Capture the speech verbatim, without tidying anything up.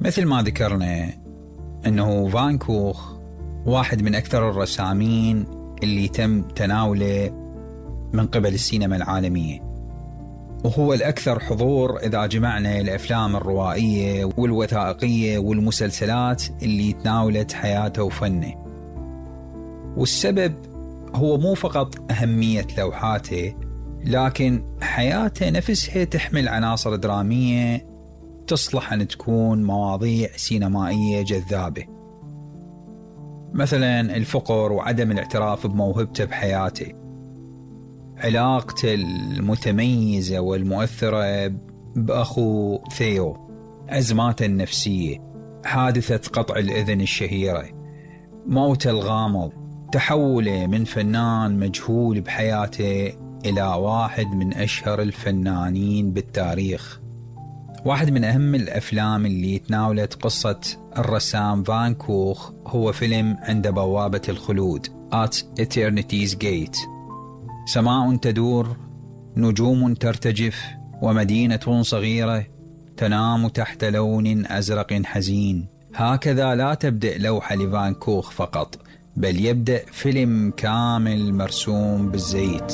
مثل ما ذكرنا أنه فان كوخ واحد من أكثر الرسامين اللي تم تناوله من قبل السينما العالمية، وهو الأكثر حضور إذا جمعنا الأفلام الروائية والوثائقية والمسلسلات اللي تناولت حياته وفنه. والسبب هو مو فقط أهمية لوحاته، لكن حياته نفسها تحمل عناصر درامية تصلح أن تكون مواضيع سينمائية جذابة، مثلا الفقر وعدم الاعتراف بموهبته بحياته، علاقته المتميزة والمؤثرة بأخو ثيو، أزماته النفسية، حادثة قطع الأذن الشهيرة، موته الغامض، تحوله من فنان مجهول بحياته إلى واحد من أشهر الفنانين بالتاريخ. واحد من أهم الأفلام اللي تناولت قصة الرسام فان كوخ هو فيلم عند بوابة الخلود At Eternity's Gate. سماء تدور، نجوم ترتجف، ومدينة صغيرة تنام تحت لون أزرق حزين. هكذا لا تبدأ لوحة لفان كوخ فقط، بل يبدأ فيلم كامل مرسوم بالزيت.